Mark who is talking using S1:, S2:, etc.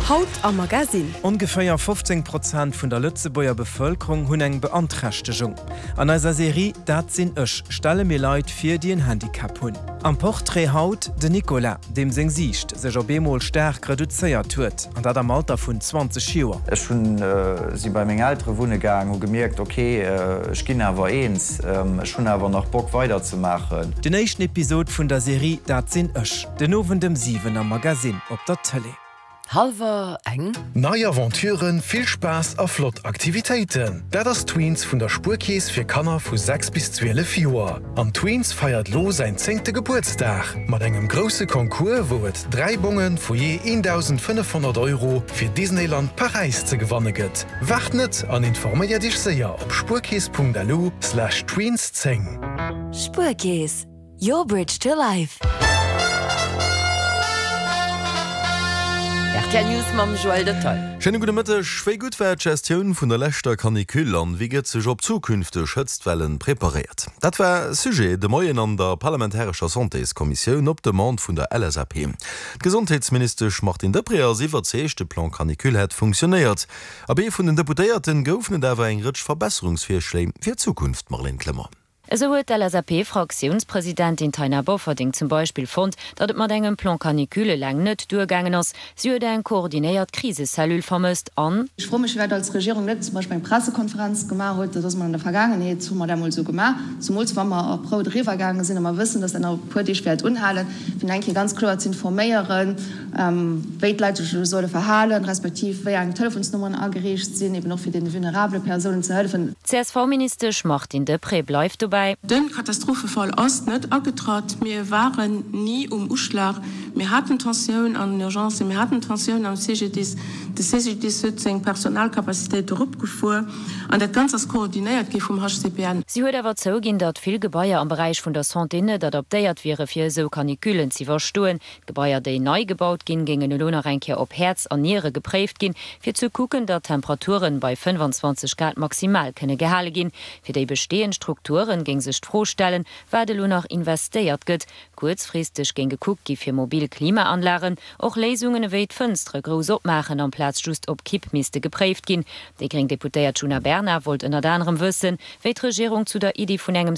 S1: Haut am Magasinn.
S2: Ongeféier 15 Prozent vun der Lëtzebuerger Bevëlkerung hunn eng Beanträchtegung. An eiser Serie Dat sinn ech stelle mir Leit vir, déi en Handicap hunn. Am Portrait haut den Nicolas, deem seng Siicht sech op eemol staark reduzéiert huet, an dat am Alter vun 20 Joer.
S3: Ech hunn, si bei meng Eltere wunne gaang, hu gemierkt, ok, ech ginn awer eens, ech hunn awer nach Bock weider ze maachen.
S2: Den éischten Episod vun der Serie Dat sinn ech, den Owend ëm 7 am Magasinn op der Tëlee.
S4: Hallwer eng.
S5: Nei Aventuren, vill Spaass a flott Aktivitéiten, dat ass Tweens vun der Spuerkeess fir Kanner vu 6 bis 12 Joer. An Tweens feiert lo säin zéngte Gebuertsdag mat engem grousse Concours, wou et 3 Bonge vu jee 1.500 Euro fir Disneyland Paräis ze gewanne gëtt. Waart net an informéiert iech séier op spuerkeess.lu/tweens10.
S1: Spuerkeess, Your bridge to life.
S4: Rtl News mam Joël Detail.
S6: Schéine gudde Mëtteg. Wéi gutt war d'Gestioun vun der leschter Canicule an wéi gëtt sech op zukünfteg Hëtztwellen preparéiert? Dat war Sujet de Moien an der parlamentarescher Santéskommissioun op Demande vun der LSAP. D'Gesondheetsministesch Martine Deprez ass iwwerzeegt, de Plan Canicule hätt funktionéiert. Abee, vun den Deputéierten goufen et awer eng Rëtsch Verbesserungsvirschléi fir d'Zukunft, Marlène Clement.
S7: Esou huet d'LSAP-Fraktiounspresidentin Taina Bofferding zum Beispill fonnt, datt et mat engem Plan canicule eleng net duergaangen ass. Si huet eng koordinéiert Krisecellule vermësst an.
S8: Ech froe mech, firwat als Regierung net zum Beispill eng Pressekonferenz gemaach huet. Dat ass emol an der Vergaangenheet, hu mer dat emol esou gemaach, zumools wa mer op rout eriwwergaange sinn a mer wëssen, datt dat nach e puer Deeg wäert unhalen, fir nach eng Kéier ganz kloer z'informéieren, wéi d'Leit sech elo solle verhalen, respektiv wéi eng Telefonsnummeren ageriicht sinn, eben och fir deene vulnerabele Persounen ze hëllefen.
S7: D'CSV-Ministesch Martine Deprez bleift dobäi.
S9: De Katastrophefall ass net agetratt. Mir waren ni um Uschlag. Mir haten Tensioun an den Urgencen, mir haten Tensioun am CGDIS. De CGDIS huet seng Personalcapacitéit eropgefuer an dat Ganzt ass koordinéiert gi vum HCPN.
S7: Si huet awer zouginn, datt vill Gebaier am Beräich vun der Santé net adaptéiert wiere fir esou Canicullen z'iwwerstoen. D'Gebaier, déi nei gebaut ginn, géingen elo nach eng Kéier op Häerz an Niere gepréift ginn, fir ze kucken, datt d'Temperaturen bei 25 Grad maximal kënne gehale ginn. Fir déi bestehend Strukturen géing sech d'Fro stellen, wat elo nach investéiert gëtt. Kuerzfristeg géing gekuckt gi fir mobil Klimaanlagen. Och Léisungen ewéi d'Fënstere grouss opmaachen amplaz just op Kipp misste gepréift ginn. Déi gréng Deputéiert Djuna Bernard wollt ënnert anerem wëssen, wéi d'Regierung zu der Iddi vun engem.